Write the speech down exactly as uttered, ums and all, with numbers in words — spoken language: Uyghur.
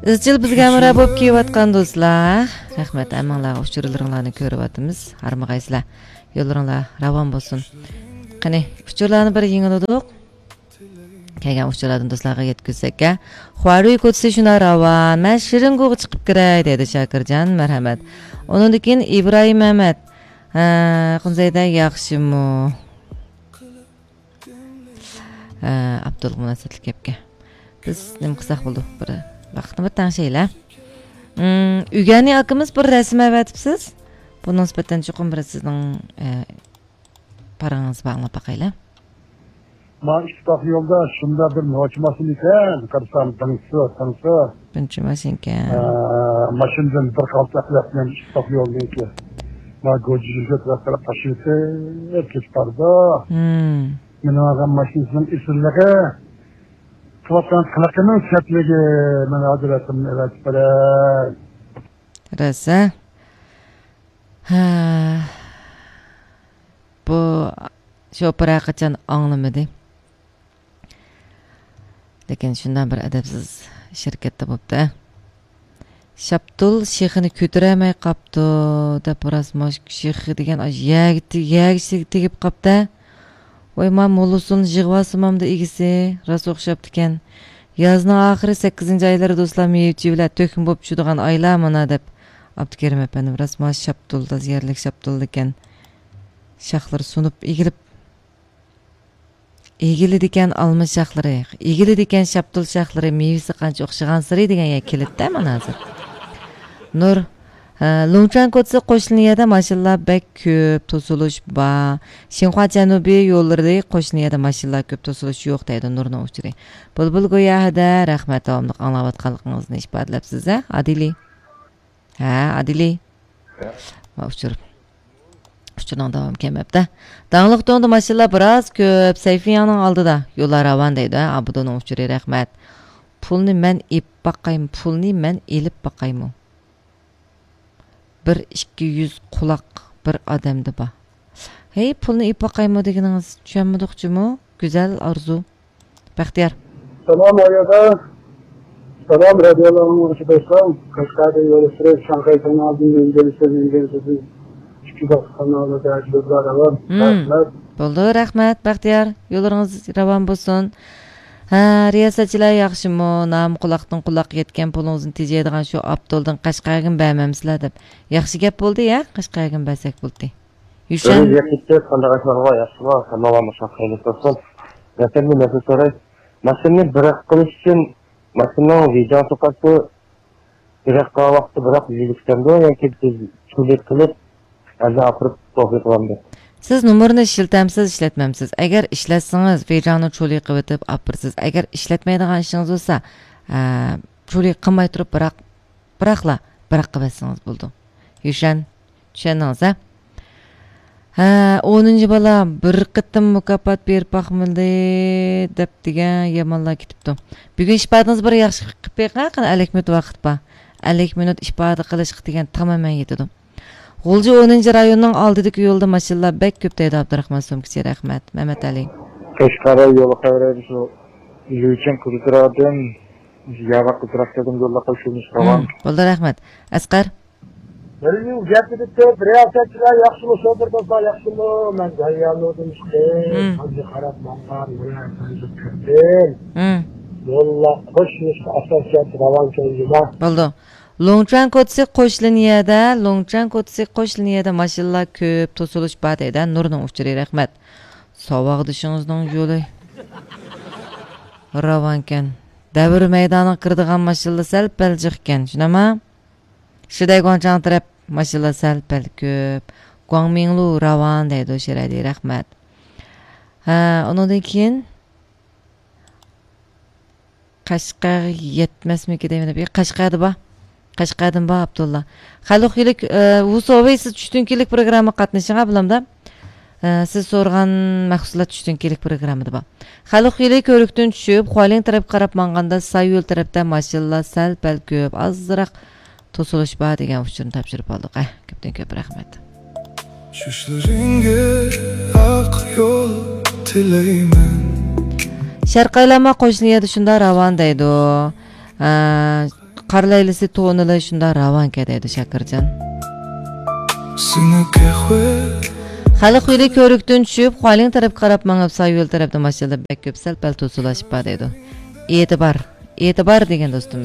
ئىزچىل بىزگە ھەمراھ بولۇپ كېلىۋاتقان دوستلار، رەھمەت، ھەممىڭلارغا ئۇچۇرلىرىڭلارنى كۆرۈۋاتىمىز. ھارمىغايسىلەر. يوللىرىڭلار راۋان بولسۇن. قېنى، ئۇچۇرلارنى بىر يېڭىلىدۇق. كەلگەن ئۇچۇرلاردىن دوستلارغا يەتكۈزسەك. خۇارۇي كوچىسى شۇنداق راۋان. مەن شېرىنگۇغا چىقىپ كىرەي، دەيدۇ شاكىرجان. مەرھەمەت. ئۇنىڭدىن كېيىن ئىبراھىم مەمەت. ھە، خۇنزەيدە ياخشىمۇ؟ ھە، ئابدۇلغا مۇناسىۋەتلىك گەپكە بىز نېمە قىلساق بولىدۇ؟ بىر ۋاقىتنى بىر تەڭشەيلى. ئىم، ئۆگەنى ئاكىمىز بىر رەسىم ئەۋەتىپسىز. بۇنىڭ نىسبەتەن چوقۇم بىر سىزنىڭ، ئە، پاراڭىڭىزنى بىر ئاڭلاپ باقايلى. ما ئىتتىپاق يولدا شۇنداق بىر نوچى ماشىنا ئىكەن، قارىسام دىڭسۇ، دىڭسۇ. بىرىنچى ماشىنا ئىكەن. ئە، ماشىنىدىن بىر قالتاق ياتمىغان ئىتتىپاق يولنىڭكى. ما گوجىجىگە تەرەپ تەرەپ تاشلىۋېتىپ كېتىپ بارىدۇ. ھىم. مېنىڭ ئالغان ماشىنىسىنىڭ ئېسىللىقى، قىلىۋاتقان قىلىقىنىڭ سەتلىكى، مانا ھازىر رەسىمنى ئەۋەتىپ بېرەي. رەسە. ھە. بۇ شوپۇر ھەرقاچان ئاڭلىمىدى. لېكىن شۇنداق بىر ئەدەپسىز شىركەتتە بوپتۇ. شاپتۇل شېخىنى كۆتۈرەلمەي قاپتۇ، دەپ راست ماش شېخى دېگەن ئاشۇ يەرگە تې-، يەرگە تېگىپ قاپتۇ. ۋاي، ما موللىسۇن يىغىۋالسىمامدۇ ئىگىسى، راست ئوخشاپتىكەن. يازنىڭ ئاخىرى سەككىزىنچى ئايلىرى دوستلار مېۋە-چېۋىلەر تۆكمە بولۇپ چۈشىدىغان ئايلار مانا، دەپ ئابدۇكېرىم ئەپەندىم. راست ما شاپتۇل، تازا يەرلىك شاپتۇل ئىكەن. شاخلىرى سۇنۇپ ئېگىلىپ، ئېگىلىدىكەن ئالما شاخلىرى، ئېگىلىدىكەن شاپتۇل شاخلىرى، مېۋىسى قانچە ئوخشىغانسېرى دېگەن يەر كېلىپتە مانا ھازىر. نۇر، ھە، لۇڭچۈەن كوچىسى قوشنا يەردە ماشىنىلار بەك كۆپ، توسۇلۇش بار. شىنخۇا جەنۇبىي يوللىرى قوشنا يەردە ماشىنىلار كۆپ، توسۇلۇش يوق دەيدۇ نۇرنىڭ ئۇچۇرى. بۇلبۇل گويا ھەدە، رەھمەت، داۋاملىق ئاڭلاۋاتقانلىقىڭىزنى ئىپادىلەپسىز ھە، ئادىلى؟ ھە، ئادىلى؟ ۋا ئۇچۇر. ئۇچۇرنىڭ داۋامى كەلمەپتۇ. داڭلىق تۇڭدا ماشىنىلار بىراز كۆپ، سەيفىياڭنىڭ ئالدىدا. يوللار راۋان دەيدۇ ھە، ئابدۇنىڭ ئۇچۇرى، رەھمەت. پۇلنى مەن ئېلىپ باقايمۇ، پۇلنى مەن ئېلىپ باقايمۇ؟ بىر ئىككى يۈز قۇلاق بىر ئادەمدە بار. ھەي، پۇلنى ئېلىپ باقايمۇ دېگىنىڭىز، چۈشەنمىدۇق جۇمۇ. گۈزەل ئارزۇ. بەختىيار. سالام ئايادا. سالام رادىيو ئاڭلىغۇچى دوستلار. قەشقەردىن يوللىشىپ، شاڭخەي كانالىدىن مەنزىلسىز، مەنزىلسىز. ئىككى باش كانالدا دەرس سۆزلەر ئەۋەل. مم. رەھمەت. بولدى، رەھمەت، بەختىيار. يوللىرىڭىز راۋان بولسۇن. ھە، رىياسەتچىلەر ياخشىمۇ؟ نام قۇلاقتىن قۇلاققا يەتكەن پۇلىڭىزنى تېجەيدىغان شۇ ئابدۇلدىن قەشقەرگىمۇ بەرمەمسىلەر دەپ. ياخشى گەپ بولدى يا، قەشقەرگىمۇ بەرسەك بولدى. يۈشەن. ئۆزى يېقىپتۇ، قانداق ئەھۋال بار، ياخشىما؟ سالاملار، مۇشۇ خەيرلىك بولسۇن. مەسىلەن، بىر نەرسە سوراي. ماشىنىنى بىراق قىلىش ئۈچۈن ماشىنىنىڭ ۋىجاڭ توقايسى بىراق قىلغان ۋاقىتتا بىراق يۈزلۈكسەمدۇ ياكى بىز چۇلى قىلىپ ئەنە ئاپىرىپ توغرا قىلامدۇ؟ سىز نومۇرنى ئىشلىتەمسىز، ئىشلەتمەمسىز؟ ئەگەر ئىشلەتسىڭىز، ۋىجاڭنى چۇلى قىلىۋېتىپ ئاپىرىسىز. ئەگەر ئىشلەتمەيدىغان ئىشىڭىز بولسا، ئە، چۇلى قىلماي تۇرۇپ بىراق، بىراقلا، بىراققا بەرسىڭىز بولىدۇ. يۈشەن، چۈشەندىڭىز ھە؟ ھە، ئونىنچى بالا بىر قېتىم مۇكاپات بېرىپ باقمىدى دەپ دېگەن يامانلار كېتىپتۇ. بۈگۈن ئىپادىڭىز بىر ياخشى قىلىپ بېقىڭ، قېنى ئەللىك مىنۇت ۋاقىت بار. ئەللىك مىنۇت ئىپادە قىلىشقا دېگەن تامامەن يېتىدۇ. غۇلجا ئونىنچى رايوننىڭ ئالدىدىكى يولدا ماشىنىلار بەك كۆپ دەيدۇ ئابدۇراخمان سومكىسى، رەھمەت. مەمەت ئەلى. قەشقەر يولى خەۋىرى شۇ يۈچۈن قىزىتىرادىن ياۋا قىزراق دېدىم يوللارغا شۇنى سورىغان. ھىم، بولدى، رەھمەت. ئەسقەر. بىر يىل گەپ ئېتىپتۇ، رىياسەتچىلەر ياخشىمۇ، شوپۇر دوستلار ياخشىمۇ؟ مەن دەريانۇردىن چىقتىم. ھىم. ھازىر قاراپ ماڭغان، مانا ھازىر كىردىم. ھىم. يوللار قوشنىسى ئاساسىيەت راۋان كەينىدە. بولدى. لوڭچۈەن كوچىسى قوش لىنىيەدە، لوڭچۈەن كوچىسى قوش لىنىيەدە ماشىنىلار كۆپ، توسۇلۇش بار دەيدۇ. نۇرنىڭ ئۇچۇرى، رەھمەت. ساۋاقدىشىڭىزنىڭ يولى راۋانكەن. دەۋر مەيدانىغا كىرىدىغان ماشىنىلار سەل پەل جىقكەن، شۇنداقمۇ؟ شىدەي گۇاڭچاڭ تەرەپ ماشىنىلار سەل پەل كۆپ. گۇاڭمىڭلۇ راۋان دەيدۇ شىرەلى، رەھمەت. ھە، ئۇنىڭدىن كېيىن قەشقەرگە يەتمەسمىكى دەيمەن. قەشقەردە بار. قەشقەردىن بار ئابدۇللا. خەلق ئىلىك، ئە، ۋۇسوۋېي، سىز چۈشتىن كېيىنلىك پروگرامما قاتنىشىڭ ھە بۇلامدا. ئە، سىز سورىغان مەھسۇلات چۈشتىن كېيىنلىك پروگراممىدا بار. خەلق ئىلىك كۆۋرۈكتىن چۈشۈپ، خۇالىڭ تەرەپكە قاراپ ماڭغاندا ساي يول تەرەپتە ماشىنىلار سەل پەل كۆپ، ئازراق توسۇلۇش بار دېگەن ئۇچۇرنى تاپشۇرۇپ ئالدۇق. ئە، كۆپتىن كۆپ رەھمەت. چۈشلىرىڭگە ئاق يول تىلەيمەن. شەرقىي ئايلانما قوشنا يەردە شۇنداق راۋان دەيدۇ. ئە، قار لەيلىسى تونىلى شۇنداق راۋانكەن دەيدۇ شاكىرجان. خەلق يولى كۆۋرۈكتىن چۈشۈپ، خۇالىڭ تەرەپكە قاراپ مېڭىپ، سايا يول تەرەپتە ماشىنىلار بەك كۆپ، سەل-پەل توسۇلۇشۇپ بار دەيدۇ. ئېتىبار، ئېتىبار دېگەن دوستىمىز.